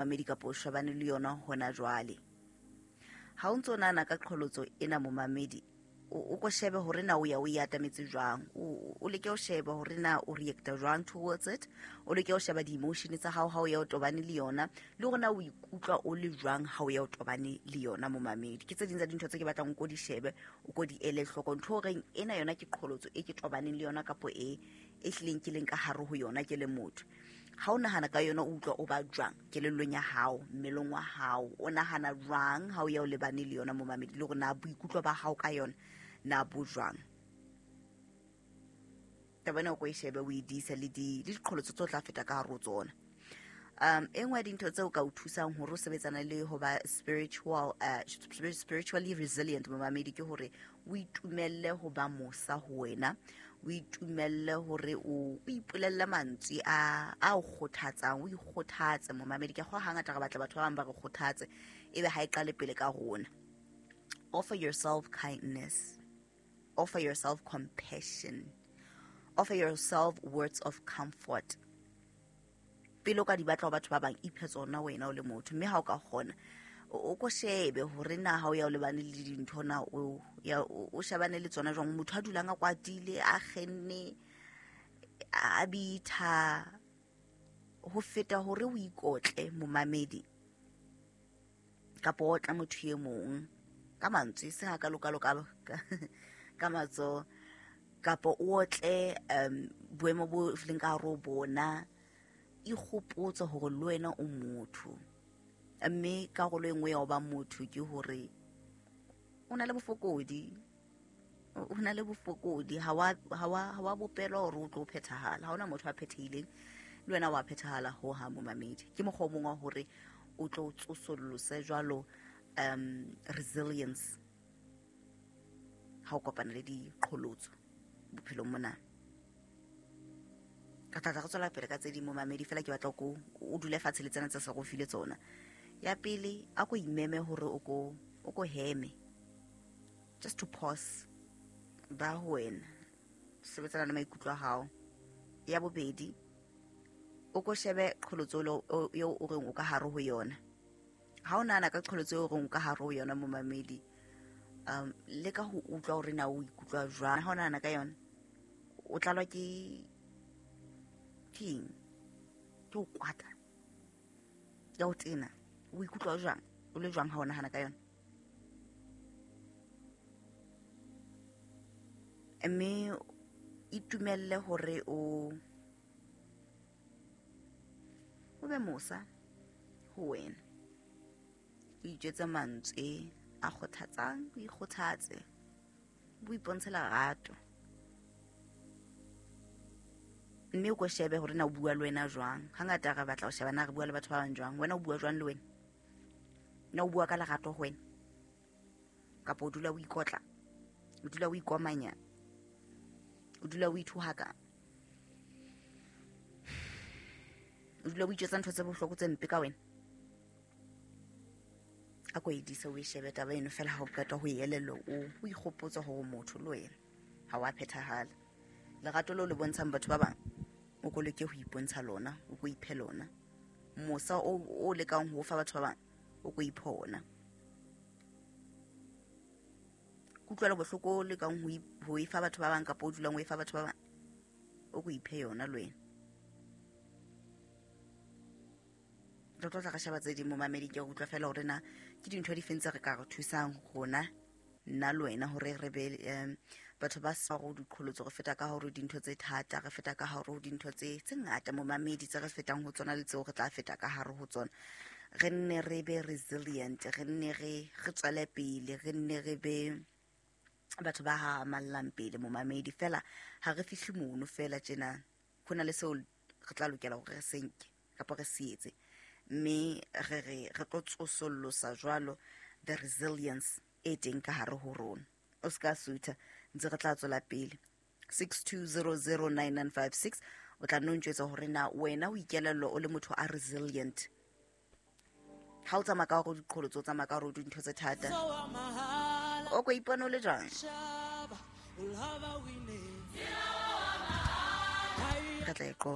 Mamedi kapa o shebane le yona hona jwale. Ha o ntso nahana ka qholotso ena momamedi, o ko shebe hore na o ya o e atametse jwang, o leke ho sheba hore na o reacta jwang towards it, o leke ho sheba di-emotion tsa hao ha o ya o tobane le yona, le hore na o ikutlwa o le jwang ha o ya o tobane le yona momamedi. Ke tse ding tsa dintho tse ke batlang o ko di shebe, o ko di ele hloko. Ntho o reng ena yona ke qholotso e ke tobaneng le yona kapo e e hlileng ke leng ka hare ho yona ke le motho. Ha o nahana ka yona o utlwa o ba jwang kelellong ya hao, mmeleng wa hao, o nahana jwang ha o ya o lebane le yona momamedi, le hore na boikutlo ba hao ka yona na bo jwang. Taba ena o ko e shebe, o e dise le diqholotso tse o tla feta ka hare ho tsona. E nngwe ya dintho tseo ka o thusang hore o sebetsana le ho ba spiritually resilient momamedi ke hore o itumelle ho ba mosa ho wena, o itumelle hore o ipolelle mantswe a o kgothatsang, o ikgothatse momamedi. Ke kgolwa hangata re batla batho ba bang ba re kgothatse, ebe ha e qale pele ka rona. Offer yourself kindness, offer yourself compassion, offer yourself words of comfort. Pele o ka di batla ho batho ba bang, iphe tsona wena o le motho. Mme ha o ka kgona, o ko shebe hore na ha o ya o lebane le dintho na o ya o shebane le tsona jwang. Motho a dulang a kwatile, a kgenne, a bitha, ho feta hore o ikotle momamedi kapa o otla motho e mong ka mantswe, e seng hakalo-kalo ka matsoho, kapa o otle boemo bo leng ka hare ho bona. Ikgopotse hore le wena o motho, mme karolo e nngwe ya ho ba motho ke hore o na le bofokodi, o na le bofokodi. Ha wa bopelwa hore o tlo phethahala. Ha hona motho a phethehileng, le wena wa phethahala ho hang momamedi. Ke mokgwa o mong wa hore o tlo tsosolose jwalo resilience ha o kopana le diqholotso bophelong mona. Ka tla tla re tswela pele ka tse ding momamedi, fela ke batla ko o dule fatshe le tsena tse sa go file tsona. Ya pele, a ko imeme hore o ko heme, just to pause ba ho wena, sebetsana le maikutlo a hao. Ya bobedi, o ko shebe qholotso eo o reng o ka hare ho yona. Ha o nahana ka qholotso eo o reng o ka hare ho yona momamedi, le ka ho utlwa hore na o ikutlwa jwang. Ha o nahana ka yona, o tlalwa ke keng? Ke ho kwata, ya ho tena. O ikutlwa jwang? O le jwang ha o nahana ka yona? Mme itumelle hore o be mosa ho wena, o itjwetse mantswe a kgothatsang, o ikgothatse, o ipontshe lerato. Mme o ko shebe hore na o bua le wena jwang. Hangata re batla ho sheba na re bua le batho ba bang jwang. Wena o bua jwang le wena? Na o bua ka lerato ho wena? Kapa o dula o ikotla? O dula o ikomanya? O dula o ithohaka? O dula o itjwetsa ntho tse bohloko tse mpe ka wena? A ko e dise, o e shebe taba eno fela. Ha o qeta ho e elellwa, o ikgopotse hore motho le wena ha wa phethahala. Lerato leo le bontshang batho ba bang, o ko leke ho ipontsha lona, o ko iphe lona. Mosa o lekang ho fa batho ba bang, o ko iphe ona. Kutlwelo bohloko o lekang ho e fa batho ba bang, kapa o dulang o e fa batho ba bang, o ko iphe yona le wena. Re tlo tla re sheba tse ding momamedi. Ke utlwa fela hore na ke dintho di feng tse re ka re thusang rona, nna le wena, hore re be batho ba sa go diqholotso. Re feta ka hore dintho tse thata, re feta ka hore ho dintho tse ngata momamedi, tse re fetang ho tsona le tseo re tla feta ka hare ho tsona. Re nne re be resilient, re nne re tswele pele, re nne re be batho ba hahamallang pele momamedi. Fela ha re fihle mono fela tjena, ho na le seo re tla lokela hore re se nke kapa re se etse, mme re tlo tsosollosa jwalo the resilience e teng ka hare ho rona. O se ka sutha, ntse re tla tswela pele. 62009956, o tla nno ntjwetsa hore na wena o ikelellwa o le motho a resilient. Ha o tsamaya ka hore diqholotso, o tsamaya ka hore dintho tse thata, o ko ipone o le jwang? Re tla e qoqa.